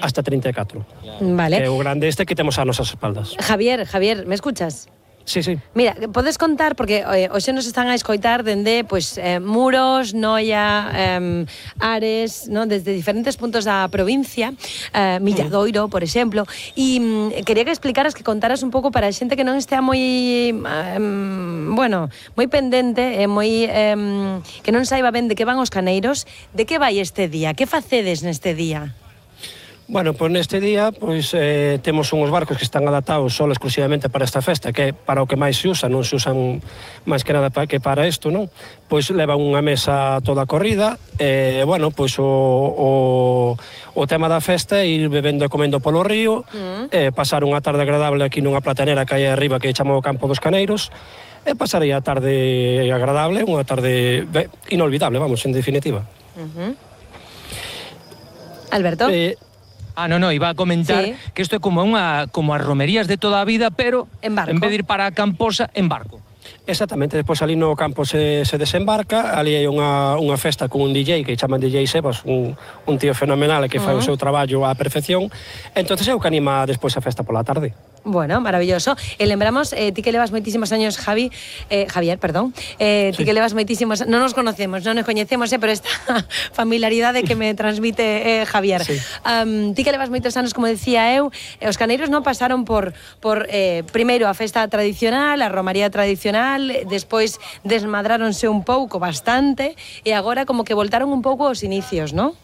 hasta 34. Vale. Que é o grande este que temos a nosas espaldas. Javier, me escuchas? Sí, sí. Mira, podes contar, porque hoxe nos están a escoitar dende Muros, Noia, Ares, ¿no? Desde diferentes puntos da provincia, Milladoiro, por exemplo, e quería que explicaras, que contaras un pouco para a xente que non estea moi moi pendente, que non saiba ben de que van os caneiros, de que vai este día, que facedes neste día? Bueno, pois neste día temos uns barcos que están adaptados só exclusivamente para esta festa, que é para o que máis se usa, non se usan máis que nada que para isto, non? Pois levan unha mesa toda corrida, pois o tema da festa é ir bebendo e comendo polo río, pasar unha tarde agradable aquí nunha platanera que hai arriba que chama o Campo dos Caneiros, e pasar aí a tarde agradable, unha tarde inolvidable, vamos, en definitiva. Alberto? No, iba a comentar que isto é como as romerías de toda a vida, pero en barco. En vez de ir para a Camposa, en barco. Exactamente, despois ali no campo se desembarca, ali hai unha festa con un DJ que chaman DJ Sebas, un tío fenomenal que fai o seu traballo á perfección, entonces é o que anima despois a festa pola tarde. Bueno, maravilloso. E lembramos, ti que levas moitísimos años, Javier, perdón, ti que levas moitísimos, non nos conocemos, non nos coñecemos, pero esta familiaridade que me transmite Javier. Sí. Ti que levas moitos anos, como decía eu, os caneiros non pasaron por primeiro a festa tradicional, a romaría tradicional, despois desmadráronse un pouco, bastante, e agora como que voltaron un pouco aos inicios, non?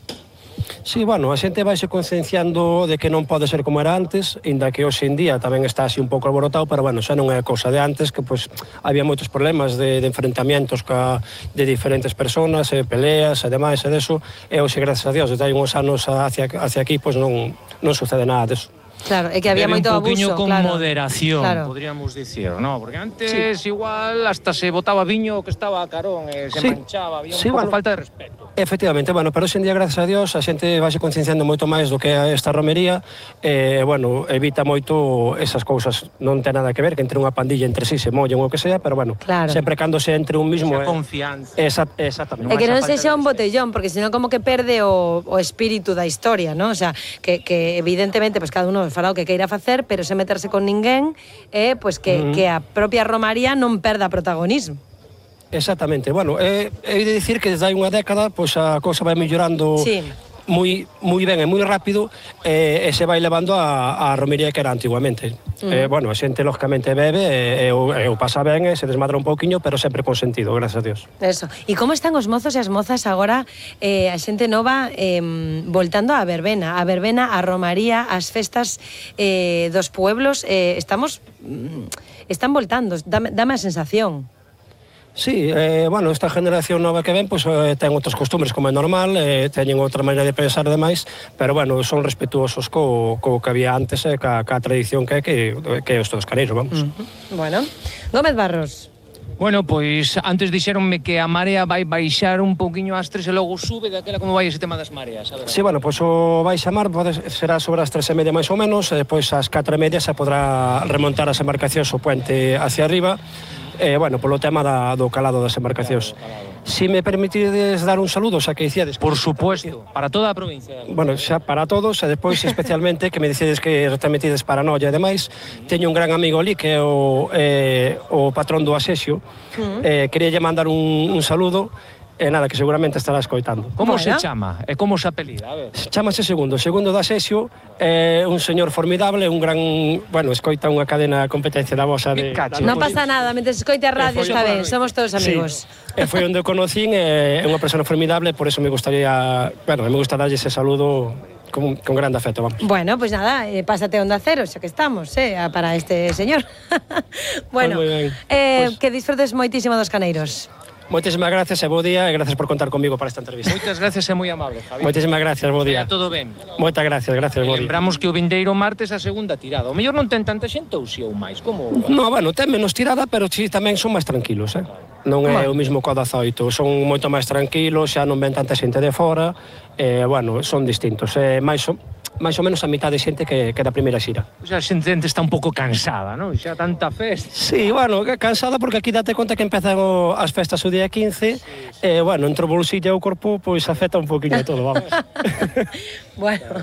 Sí, bueno, a xente vaise concienciando de que non pode ser como era antes, inda que hoxe en día tamén está así un pouco alborotado, pero bueno, xa non é cousa de antes, que pois había moitos problemas de enfrentamientos de diferentes personas, peleas e demais, e deso, e hoxe, gracias a Dios, desde hai uns anos hacia aquí, pois non sucede nada deso. Claro, é que había moito abuso, un poquinho con claro. moderación, claro. podríamos dicir, ¿no? Porque antes igual hasta se botaba viño que estaba a carón, se manchaba, había un pouco falta de respeto. Efectivamente, bueno, pero hoxe en día, gracias a Dios, a xente vaise concienciando moito máis do que é esta romería, evita moito esas cousas, non ten nada que ver, que entre unha pandilla entre sí se mollen ou o que sea, pero bueno, sempre cando se entre un mismo... Esa confianza. Exactamente. E que non sexa un botellón, porque senón como que perde o espírito da historia, ¿no? O sea, que evidentemente, pues cada uno fará o que queira facer, pero se meterse con ninguén, pues que a propia romaría non perda protagonismo. Exactamente, bueno, he de dicir que desde hai unha década pois a cousa vai mellorando moi ben e moi rápido e se vai levando a romería que era antiguamente. Bueno, a xente lógicamente bebe e o pasa ben e se desmadra un pouquiño, pero sempre con sentido, gracias a Dios. Eso. E como están os mozos e as mozas agora, a xente nova voltando á verbena, a romaría, as festas dos pueblos, están voltando, dame a sensación. Sí, bueno, esta generación nova que ven pois ten outras costumbres como é normal, teñen outra maneira de pensar demais, pero bueno, son respetuosos co que había antes e ca tradición que é os todos caneiros, vamos. Bueno, Gómez Barros. Bueno, pois antes dixéronme que a marea vai baixar un pouquiño ás 3 e logo sube, daquela como vai ese tema das mareas? Sí, bueno, pois o baixa mar será sobre as 3:30 máis ou menos, e depois ás 4:30 se podrá remontar as embarcacións o puente hacia arriba, bueno, polo tema do calado das embarcacións. Si me permitides dar un saludo, xa que dicíades... Por supuesto, para toda a provincia. Bueno, xa para todos, e depois especialmente que me dicides que remitides para Noia e demais, teño un gran amigo ali que é o patrón do Asexio, queríalle mandar un saludo, e nada, que seguramente estará escoitando. Como se chama? E como se apelida? A ver. Chámase Segundo da Asexio, é un señor formidable, un gran... Bueno, escoita unha cadena de competencia da vosa de... Non pasa nada, mentre escoite a radio está ben, somos todos amigos. E foi onde o conocín, é unha persona formidable, por eso me gustaría... Bueno, me gusta darlle ese saludo con grande afecto, vamos. Bueno, pues nada, pásate a Onda Cero, xa que estamos, para este señor. Bueno, que disfrutes moitísimo dos caneiros. Moitísimas gracias e bo día e gracias por contar comigo para esta entrevista. Moitas gracias e moi amable, Javi. Moitísimas gracias, bo día. Todo ben. Moitas gracias, bo día. Lembramos que o vindeiro martes a segunda tirada. O mellor non ten tanta xente ou si ou máis, como... No, bueno, ten menos tirada, pero si tamén son máis tranquilos, Non é o mismo co 18, son moito máis tranquilos, xa non ven tanta xente de fora, bueno, son distintos, máis ou menos a mitad de xente que da primeira xira. Xa a xente está un pouco cansada, non? Xa tanta festa. Sí, bueno, cansada porque aquí date conta que empezan as festas o día 15, bueno, entre o bolsillo e o corpo, pois afecta un poquinho todo, vamos. Bueno,